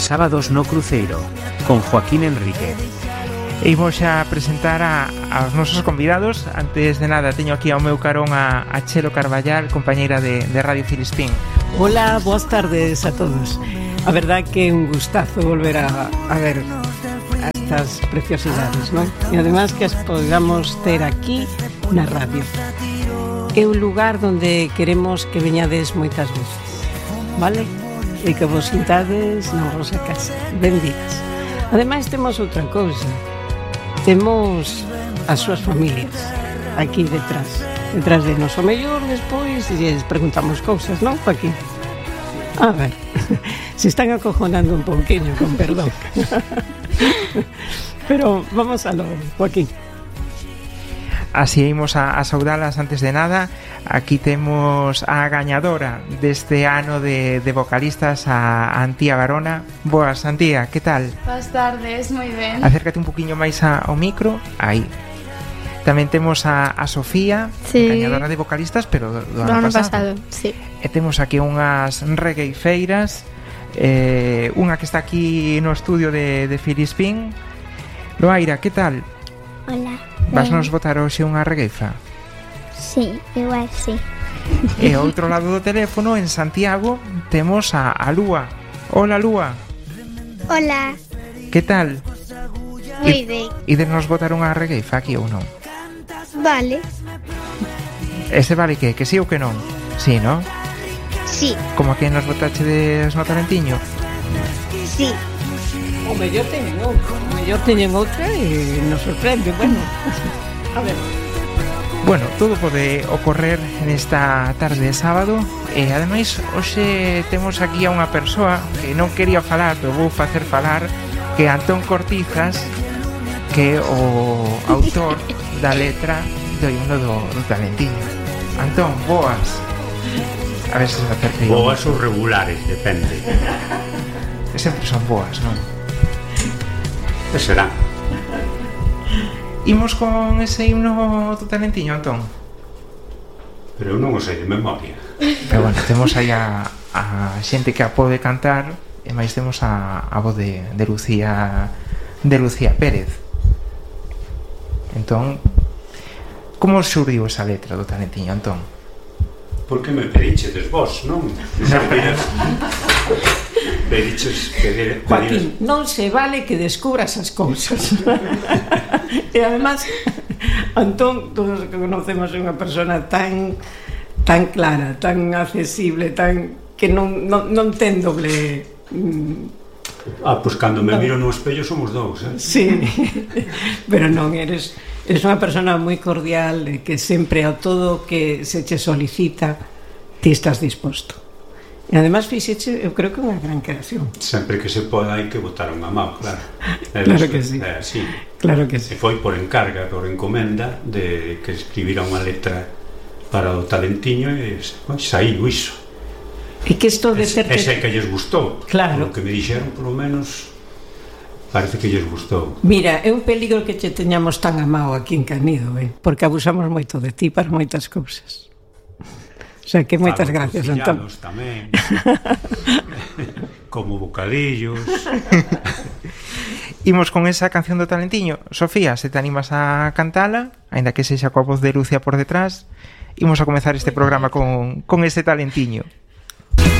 Sábados no Cruceiro, con Joaquín Enríquez. E imos xa presentar aos nosos convidados. Antes de nada, teño aquí ao meu carón a Chelo Carballal, compañeira de Radio Filispín. Hola, boas tardes a todos. A verdad que é un gustazo volver a ver estas preciosidades, non? E además que as podamos ter aquí na radio. É un lugar onde queremos que veñades moitas veces, vale? E que vos sintades na vosa casa. Benvidas. Ademais temos outra cousa. Temos as súas familias aquí detrás de nos. O mellor despois lles preguntamos cousas, non, Joaquín? A ver, se están acojonando un pouquinho, con perdón. Pero vamos a lo, Joaquín. Así imos a saudalas antes de nada. Aquí temos a gañadora deste ano de vocalistas, a Antía Garona. Boas, Antía, que tal? Boas tardes, moi ben. Acércate un poquinho máis ao micro. Aí. Tamén temos a Sofía, sí, gañadora de vocalistas, pero do ano pasado. Sí. E temos aquí unhas regueifeiras, unha que está aquí no estudio de Filispín. Loaira, que tal? Hola. Vas nos botar hoxe unha regueifa? Sí, igual sí. E ao outro lado do teléfono, en Santiago, temos a Lúa. Hola, Lúa. Hola. Que tal? Moi ben. Ides nos botar unha regueifa aquí ou non? Vale. Ese vale que sí ou que non? Sí, non? Sí. Como que nos botachedes no Talentiño? Sí. O mellor teñen outra e nos sorprende, bueno. A ver. Bueno, todo pode ocorrer nesta tarde de sábado. E ademais, hoxe temos aquí a unha persoa que non quería falar, pero vou facer falar, que é Antón Cortizas, que é o autor da letra do himno do Talentiño. Antón, boas. A ver se se acerca. Boas ou regulares, depende. Sempre son boas, non? Que será? Imos con ese himno do Talentiño, Antón? Pero eu non o sei de memoria. Pero bueno, temos aí a xente que a pode cantar. E máis temos a voz de Lucía Pérez. Entón, como xurdiu esa letra do Talentiño, Antón? Por que me pedichedes vos, non? Joaquín, non se vale que descubras as cousas. E además, Antón, todos que conocemos é unha persona tan clara, tan accesible, tan que non ten doble. Pois cando me miro no espello somos dous, Sí, pero non, eres unha persona moi cordial e que sempre a todo que se che solicita ti estás disposto. E además fixeche, eu creo que unha gran creación. Sempre que se poda hai que botar unha mão, claro. Claro que sí. Sí. Claro que sí. E foi por encarga, por encomenda de que escribira unha letra para o Talentiño e saíu iso. E que isto de ter que... Ese que lles gustou. Claro. O que me dixeron, polo menos, parece que lles gustou. Mira, é un peligro que che teñamos tan amado aquí en Canido, porque abusamos moito de ti para moitas cousas. O sea, que moitas gracias, Antón. Tamén. Como bocadillos. Imos con esa canción do Talentiño. Sofía, se te animas a cantala, aínda que sexa coa voz de Lucia por detrás, imos a comezar este programa con ese Talentiño.